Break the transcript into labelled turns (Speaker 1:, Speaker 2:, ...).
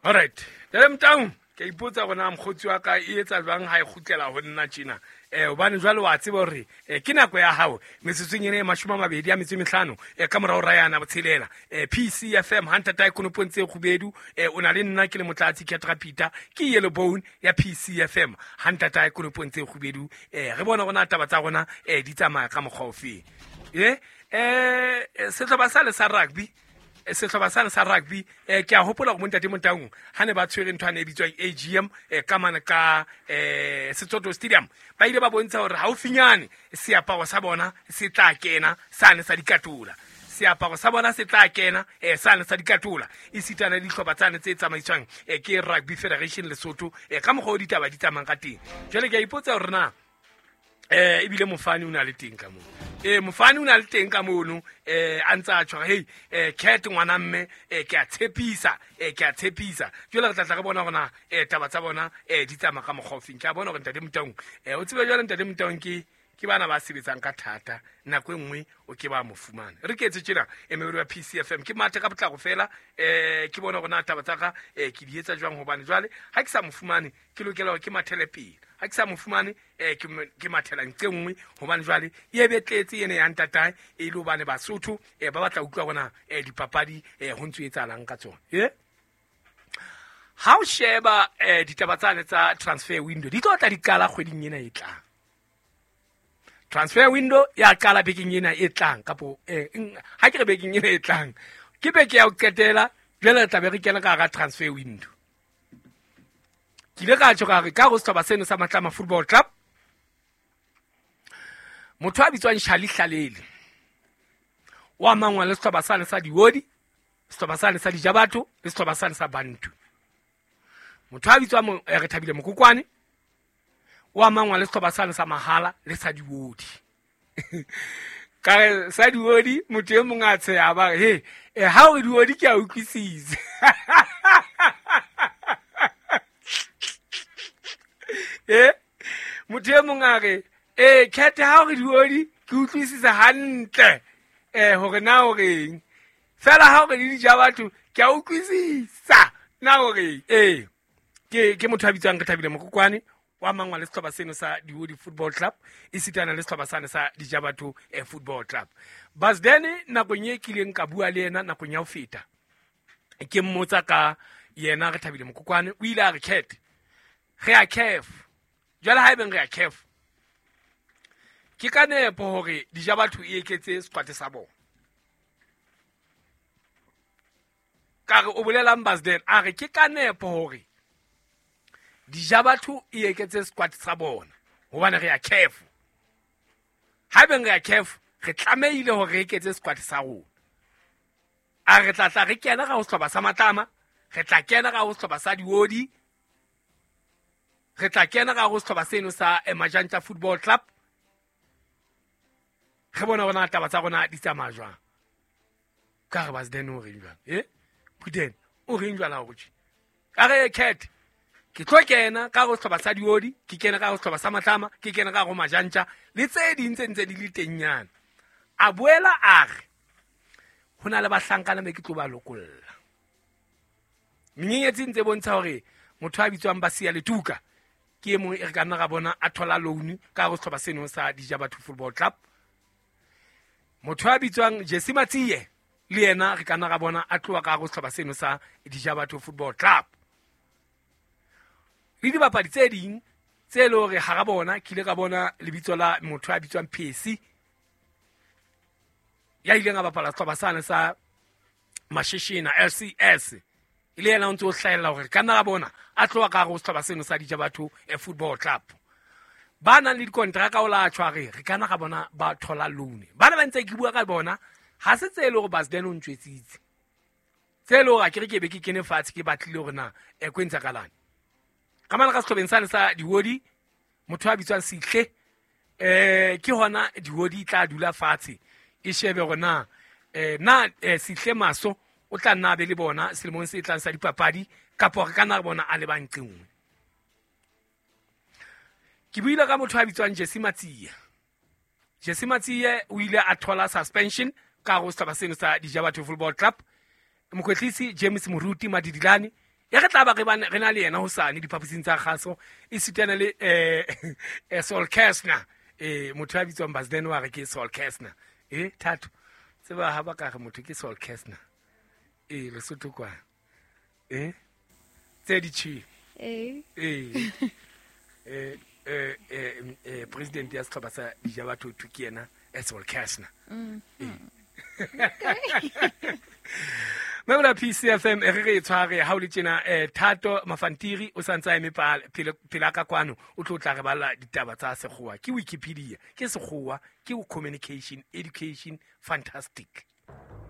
Speaker 1: Alright, jale Motaung, ke a ipotsa gore na mokgotsi wa ka e etsa jwang ha e kgutlela ho nna tjena. Hobane jwale wa tseba hore ke nako ya hao metsotsong ena e 25 ka morao ra yana botshelela. PCFM ha ntatae konopong tse kgubedu, o na le nna ke le Motlatsi Ketra Peter, ke Yellow Bone ya PCFM ha ntatae konopong tse kgubedu. Re bona rona taba tsa rona di tsamaya ka mokgwa ofeng. Sehlopha sa le sa rugby, sehlopha sane sa rugby, ke a hopola hore bontate Motaung ha ne ba tshwere ntho ane e bitswang AGM, ka mane ka Setsoto Stadium, ba ile ba bontsha hore haufinyane seaparo sa bona se tla kena sane sa dikatola. Seaparo sa bona se tla kena sane sa dikatola, esitana le dihlopha tsane tse tsamaiswang ke Rugby Federation Lesotho, ka mokgwa o ditaba di tsamayang ka teng. Jwale ke a ipotsa hore na ebile mofani o na le teng ka mono. Mofani o na le teng ka mono, a ntse a tshwara, hey, Cat ngwana mme, ke a tshepisa, ke a tshepisa. Jwale re tla tla re bona hore na taba tsa bona di tsamaya ka mokgwa ofeng. Ke a bona hore ntate Motaung, o tsebe jwale ntate Motaung ke bana ba sebetsang ka thata, nako e nngwe o ke ba mo fumana. Re ke etse tjena, emehodi wa PCFM, ke mathe ka potlako fela, ke bona hore na taba tsa ka, ke di etsa jwang, hobane jwale ha ke sa mo fumane ke lokela hore ke mathele pele. Ha ke sa mo fumane, ke mathela nqe nngwe, hobane jwale e be tletse ene ya ntatae, e le hobane Basotho, ba batla utlwa hore na, dipapadi, ho ntso etsahalang ka tsona. Ha o sheba, ditaba tsane tsa transfer window di tlo tla di qala kgweding ena e tlang. Transfer window ya qala bekeng ena e tlang, kapo, ha ke re bekeng ena e tlang, ke beke ya ho qetela, jwale re tla be re kena ka hara transfer window. Ke ile ka tjho ka re ka ho sehlopha seno sa Matlama Football Club, motho a bitswang Charlie Hlalele o amangwa le sehlopha sane sa Diodi, sehlopha sane sa Dijabatho le sehlopha sane sa Bantu. Motho a bitswang Rethabile Mokokwane o amangwa le sehlopha sane sa Mahala le sa Diodi. Ka re sa Diodi, motho e mong a tsheha ba re, he, ha o re Diodi ke a utlwisisa. Motho e mong a re, Cat, ha o re Diodi ke utlwisisa hantle, hore na o reng. Fela ha o re le Dijabatho ke a utlwisisa na o reng. Ke motho a bitswang Rethabile Mokokwane, wa mangwa le sehlopha seno sa Diodi Football Club, esitana le sehlopha sane sa Dijabatho, Football Club. Basdene nakong e kileng ka bua le yena nakong ya ho feta, ke mmotsa ka yena Rethabile Mokokwane, o ile a re Cat, re a CAF. Jwale ha ebeng re a CAF, ke ka nepo hore Dijabatho e eketse squad sa bona. Ka re o bolelang Basden, a re ke ka nepo hore Dijabatho e eketse squad sa bona, hobane re a CAF. Ha ebeng re a CAF, re tlamehile hore re eketse squad sa rona. A re tla tla re kena ka ho sehlopha sa Matlama, re tla kena ka ho sehlopha sa Diodi, re tla kena ka ho sehlopha seno sa Majantja Football Club. Re bona hore na taba tsa rona di tsamaya jwang. Ka re Basden o reng jwang? Phuteng o reng jwang ha o tjhe? Ka re Cat, ke tlo kena ka ho sehlopha sa Diodi, ke kena ka ho sehlopha sa Matlama, ke kena ka ho Majantja le tse ding tse ntse di le teng nyana. A boela a re ho na le bahlankana be ke tlo ba lokolla. Menyenyetsi ntse bontsha hore motho a bitswang Basia Letuka ke e mong e re ka nna ra bona a thola loan ka ho sehlopha seno sa Dijabatho Football Club. Motho a bitswang Jesse Matsie le yena re ka nna ra bona a tloha ka ho sehlopha seno sa Dijabatho Football Club. Le dibapadi tse ding tse le hore hara bona ke ile ka bona lebitso la motho a bitswang Phesi, ya ileng a bapala sehlopha sane sa Mashishina LCS, e le yena o ntse o hlahella hore ka nna ra bona a tloha ka hare ho sehlopha seno sa Dijabatho Football Club. Ba nang le dikontraka o la tjho a re, re ka nna ra bona ba thola loan. Bana ba ntse ke bua ka bona, ha se tse e le hore Basden o ntjwetsitse. Tse e le hore a ke re ke be ke kene fatshe ke batlile hore na, ko entsa kalane. Ka mane ka sehlopheng sane sa Diodi, motho a bitswang Sihle, ke hona Diodi e tla dula fatshe e shebe hore na, na, Sihle Maso o tla nna a be le bona selemong se tlang sa dipapadi, kapa re ka nna re bona a le ba nqe nngwe. Ke buile ka motho a bitswang Jesse Matsie. Jesse Matsie o ile a thola suspension ka ho sehlopha seno sa Dijabatho Football Club. Mokwetlisi James Moruti Madidilane Ya re tla ba re re na le yena hosane diphaposing tsa kgaso, e sitana le Sol Kastner. Motho ya bitswang Basden wa re ke Sol Kastner. Thato, tseba ha ba ka re motho ke Sol Kastner. Lesotho kwa. Tse di tjhe. President ya sehlopha sa Dijabatho ke yena Sol Kastner. Mebola PCFM e re re e tshware ha o le tjena. Thato Mafantiri o santse a eme pela ka kwano, o tlo tla re balla ditaba tsa sekgowa. Ke Wikipedia, ke sekgowa, ke communication, education, fantastic.